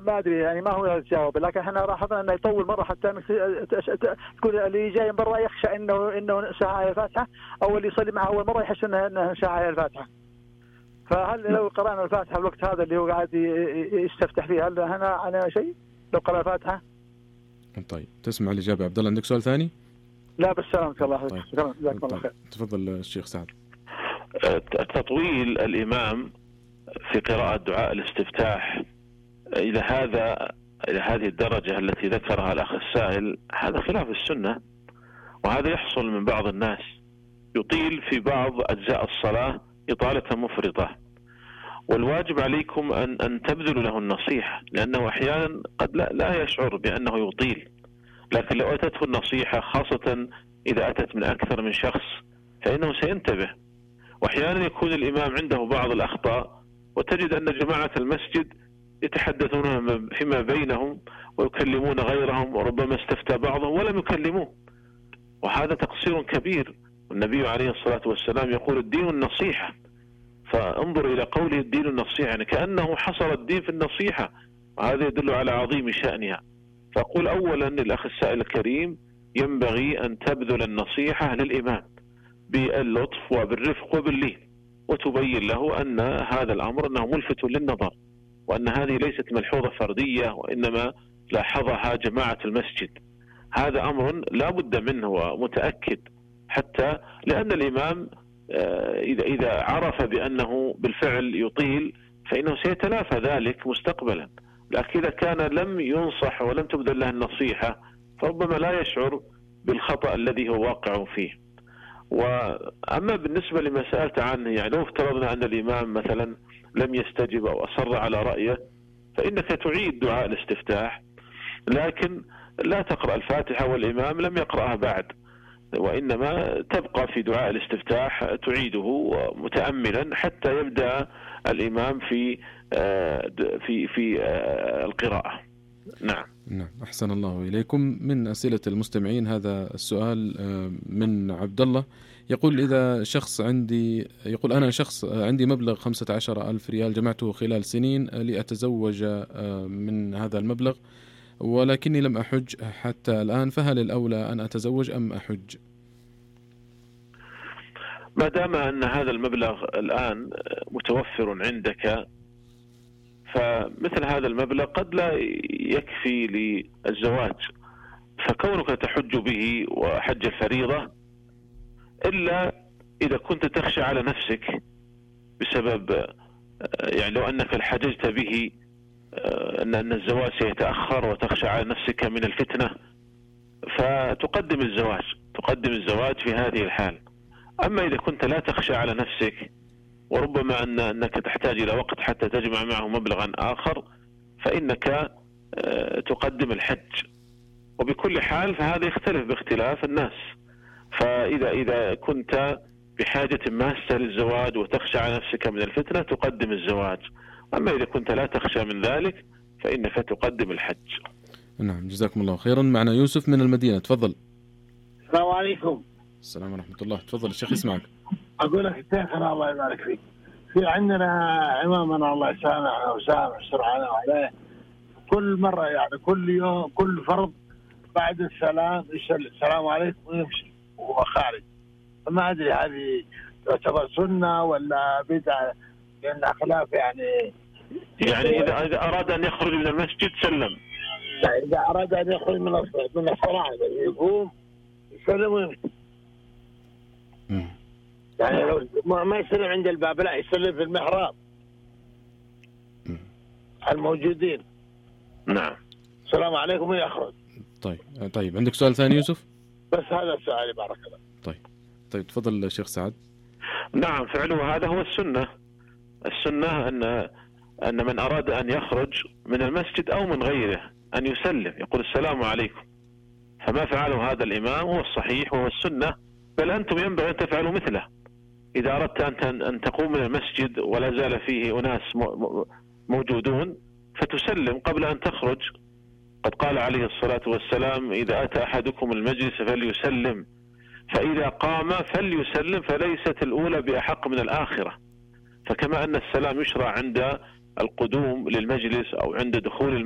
ما ادري يعني ما هو الجواب، لكن احنا لاحظنا انه يطول مره حتى تقول اللي جاي من برا يخشى انه شاع الفاتحه، او اللي يصلي معه اول مره يحس انه شاع الفاتحه. فهل لو قرانا الفاتحه الوقت هذا اللي هو قاعد يستفتح فيه، هل هنا على شيء لو قرأ الفاتحه؟ طيب تسمع الإجابة. عبد الله عندك سؤال ثاني؟ لا بس سلامك الله. طيب. شكرا جزاكم الله خير. تفضل الشيخ سعد. تطويل الإمام في قراءة دعاء الاستفتاح إلى هذه الدرجة التي ذكرها الأخ السائل، هذا خلاف السنة، وهذا يحصل من بعض الناس، يطيل في بعض أجزاء الصلاة إطالة مفرطة، والواجب عليكم أن تبذلوا له النصيحة، لأنه أحيانا قد لا يشعر بأنه يطيل، لكن لو أتته النصيحة خاصة إذا أتت من أكثر من شخص فإنه سينتبه. وأحيانا يكون الإمام عنده بعض الأخطاء، وتجد أن جماعة المسجد يتحدثون فيما بينهم ويكلمون غيرهم، وربما استفتى بعضهم ولم يكلموه، وهذا تقصير كبير. والنبي عليه الصلاة والسلام يقول الدين النصيحة، فانظر إلى قوله الدين النصيحة، يعني كأنه حصر الدين في النصيحة، وهذا يدل على عظيم شأنها. فأقول أولا للأخ السائل الكريم ينبغي أن تبذل النصيحة للإمام باللطف وبالرفق وباللين، وتبين له أن هذا الأمر أنه ملفت للنظر، وأن هذه ليست ملحوظة فردية وإنما لاحظها جماعة المسجد. هذا أمر لا بد منه ومتأكد، حتى لأن الإمام إذا عرف بأنه بالفعل يطيل فإنه سيتلافى ذلك مستقبلا، لكن إذا كان لم ينصح ولم تبذل له النصيحة فربما لا يشعر بالخطأ الذي هو واقع فيه. وأما بالنسبة لما سألت عنه، يعني لو افترضنا أن الإمام مثلا لم يستجب أو أصر على رأيه، فإنك تعيد دعاء الاستفتاح، لكن لا تقرأ الفاتحة والإمام لم يقرأها بعد، وإنما تبقى في دعاء الاستفتاح تعيده متأملا حتى يبدأ الإمام في القراءة. نعم. أحسن الله إليكم. من أسئلة المستمعين هذا السؤال من عبد الله، يقول أنا شخص عندي مبلغ 15,000 ريال جمعته خلال سنين لأتزوج من هذا المبلغ، ولكني لم أحج حتى الآن، فهل الأولى أن أتزوج أم أحج؟ ما دام أن هذا المبلغ الآن متوفر عندك، فمثل هذا المبلغ قد لا يكفي للزواج، فكونك تحج به وحج الفريضة، إلا إذا كنت تخشى على نفسك بسبب يعني لو أنك حججت به أن الزواج سيتأخر وتخشى على نفسك من الفتنة، فتقدم الزواج في هذه الحال. أما إذا كنت لا تخشى على نفسك وربما أنك تحتاج إلى وقت حتى تجمع معه مبلغا آخر، فإنك تقدم الحج. وبكل حال فهذا يختلف باختلاف الناس، فإذا كنت بحاجة ماسة للزواج وتخشى على نفسك من الفتنة تقدم الزواج، أما إذا كنت لا تخشى من ذلك فإنك تقدم الحج. نعم، جزاكم الله خيرا. معنا يوسف من المدينة، تفضل. السلام عليكم. السلام ورحمة الله، تفضل الشيخ يسمعك. أقول لك شيخنا الله يبارك فيك، في عندنا إمامنا الله يسامحنا ويسامح سرعنا عليه، كل مرة يعني كل يوم كل فرض بعد السلام يسلم السلام عليكم ويمشي وهو خارج، فما أدري هذه تعتبر سنة ولا بدعة، لأن خلاف يعني إذا أراد أن يخرج من المسجد سلم، إذا أراد أن يخرج من الصلاة يقوم يسلم ويمشي، يعني لو ما يسلم عند الباب لا يسلم في المحراب الموجودين. نعم. السلام عليكم ويخرج. طيب عندك سؤال ثاني يوسف؟ بس هذا السؤال بارك الله. طيب تفضل الشيخ سعد. نعم، فعله هذا هو السنة أن من أراد أن يخرج من المسجد أو من غيره أن يسلم، يقول السلام عليكم، فما فعله هذا الإمام هو الصحيح وهو السنة، بل أنتم ينبغي أن تفعلوا مثله. إذا أردت أن تقوم من المسجد ولا زال فيه أناس موجودون فتسلم قبل أن تخرج. قد قال عليه الصلاة والسلام إذا أتى أحدكم المجلس فليسلم، فإذا قام فليسلم، فليست الأولى بأحق من الآخرة. فكما أن السلام يشرع عند القدوم للمجلس أو عند دخول المجلس